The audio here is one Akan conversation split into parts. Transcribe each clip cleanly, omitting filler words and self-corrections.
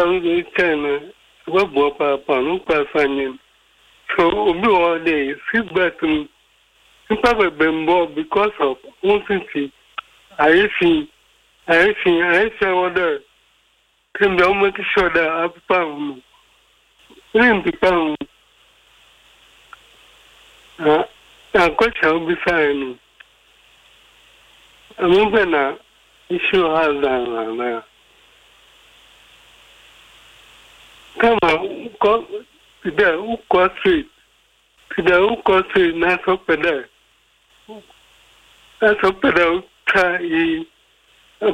a wotse no, ɔbɔboa papaapa. No kwan so nye no. So obi wɔ hɔ dɛ seat belt no nyimpa beberee mmbɔ because of hɔn sisi ayɛ fi, ayɛ fi, ayɛ fi a ɔwɔ dɛ Ndɛ wo make sure dɛ apepa ho no, eremmpepa ho. Na na question a wobisae no, ɔno pɛ na issue has done anaa? Kama wokɔ tse dɛ wokɔ street, tse dɛ wokɔ street na sɛ wopɛ dɛ na sɛ wopɛ dɛ wotwa iyi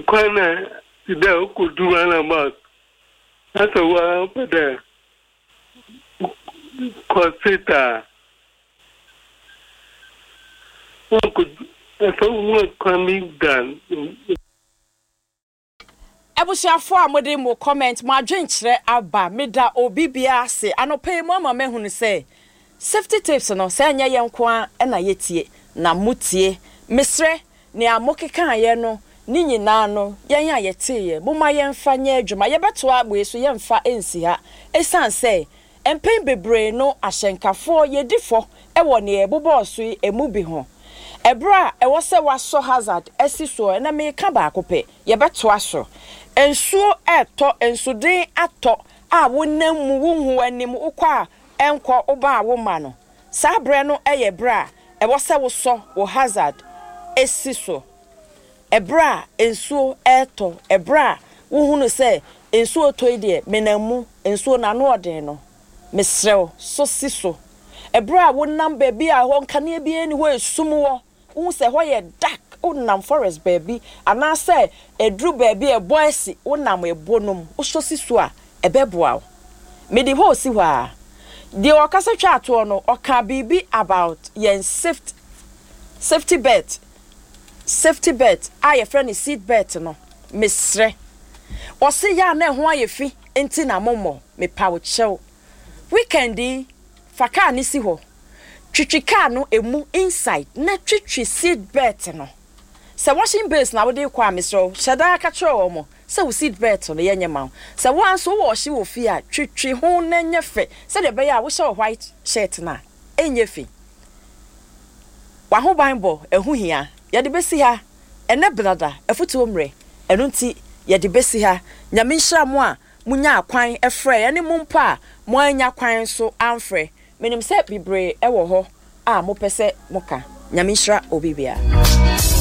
Kwan a tse dɛ okodu roundabout na sɛ woara wopɛ dɛ kɔ straight a, wokodu sɛ wohu kwan bi da. Abusuafoɔ a mode mo comment, mo adwenkyerɛ aba, meda obi biara ase. Anɔpa yi moama mahunu sɛ safety tips no, sɛ ɛnyɛ yɛn nko ara na yɛtie, na motie. Mesrɛ, nea mokekaeɛ no ne nyinaa no, yɛn a yɛteeɛ, momma yɛmfa nyɛ adwuma. Yɛbɛtoa wei so, yɛmfa nsi ha. Ɛsiane sɛ mpɛn bebree no ahyɛnkafoɔ yɛdi fɔ wɔ nea yɛbobɔɔ so yi ɛmu bi ho. Ɛberɛ a ɛwɔ sɛ wɔasɔ hazard asi soɔ, ɛnnɛ mereka baako pɛ, Yɛbɛtoa so. Nsuo retɔ, nsuden atɔ a wonam mu, wonhu w'anim, wokɔ a ɛnkɔ, woba a womma no. Saa berɛ no yɛ berɛ a ɛwɔ sɛ wosɔ wo hazard si so. Ɛberɛ a nsuo retɔ, ɛberɛ a wohunu sɛ nsuo retɔ yi deɛ menam mu, nsuo no ano ɔden no, mesrɛ wo, sɔ si so. Ɛberɛ a wonam baabi a ɛhɔ nkanea biara nni hɔ, esum wɔ, Wohu sɛ ɛhɔ yɛ dark, wonam forest baabi anaasɛ ɛduru baabi a ɛbɔ asi, wonam ɛbɔ no mu, wosɔ si so a, ɛbɛboa wo. Mede hɔ resi hɔ ara. Deɛ ɔkasa twaa toɔ no, ɔkaa biribi about yɛn saft safety belt, safety belt a yɛfrɛ no seat belt no. Mesrɛ. Ɔse yɛ a na ɛho ayɛ fi nti na mommɔ. Mepa wo kyɛw. Weekend yi, fa car no si hɔ. Twitwi car no emu inside na twitwi seat belt no. Sɛ washing base na wode rekɔ a, mesrɛ wo, hyɛ da ara ka kyerɛ wɔn sɛ wo seat belt no yɛnyɛ ma wo. Sɛ wo ara nso wowɔ ɔhye wɔ fie a, twitwi ho na ɛnyɛ fɛ sɛdeɛ ɛbɛyɛ a wohyɛ wo white shirt no a, ɛnyɛ fi. W'ahobanbɔ, ɛho hia. Yɛde bɛsi ha. Ɛnnɛ Benada, afutuo mmerɛ, ɛno nti yɛde bɛsi ha. Nyame nhyira mo a monyaa kwan frɛɛ ɛne mo mpo a moannya kwan nso amfrɛ. Menim sɛ bebree wɔ hɔ a mopɛ sɛ moka. Nyame nhyira obi biara.